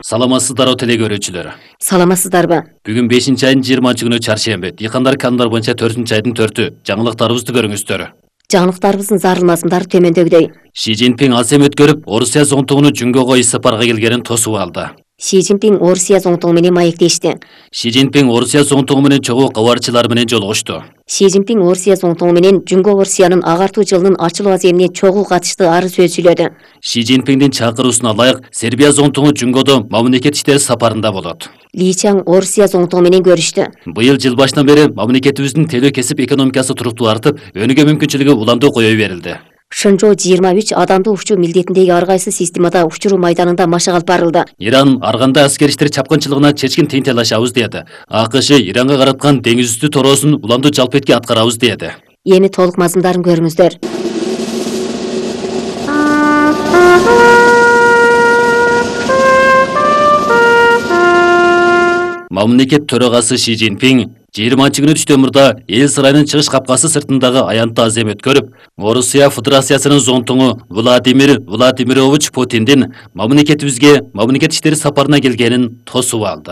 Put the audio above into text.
Саламатсыздарбы теле көрүүчүлөр. Саламатсыздарбы? Бүгүн 5-айдын 20-күнү чаршемби. Дыйкандар канундар боюнча 4-айдын 4-ү. Жаңылыктарыбызды көрүңүздөр. Жаңылыктарыбыздын зарылмасындары төмөндөгүдөй. Ши Цзиньпин азем өткөрүп, Орусия зонтугуну Жүнгөгө иш сапарга келгенин тосуп алды. Ши Цзиньпин Орусия зонтугу менен маектешти. Ши Цзиньпин Орусия зонтугу менен чогуу кабарчылар менен жолугушту. Ши Цзиньпин Орусия зонтугу менен Жүнгө Орусиянын агартуу жылынын ачылуу аземине чогуу катышты ары сөз сүйлөдү. Ши Цзиньпиндин чакыруусуна ылайык Сербия зонтугу Жүнгөдө мамлекет иштери сапарында болот. Ли Чаң Орусия зонтугу менен көрүштү. Быйыл жыл башынан бери мамлекетибиздин телөө кесип экономикасы туруктуу артып, өнүгүү мүмкүнчүлүгү уламдуу кое берилди. Шынжоо 23 адамды учуу милдетиндеги ар кайсы системада учуруу майданында машык алып барылды. Иран арганда аскер иштер чапкынчылыгына чечкин тыйын талашабыз деди. АКШ Иранга караткан деңиз үстү тороосун уламдуу жалпы этке аткарабыз деди. Эми толук мазмундарын көрүңүздөр. Мамлекет төрагасы Ши Цзиньпин 20-күнү түштөмүрдө эл сарайынын чыгыш капкасы сыртындагы аянтты азем өткөрүп, Орусия Федерациясынын зонтугу Владимир Владимирович Путиндин мамлекетибизге мамлекет иштери сапарына келгенин тосуп алды.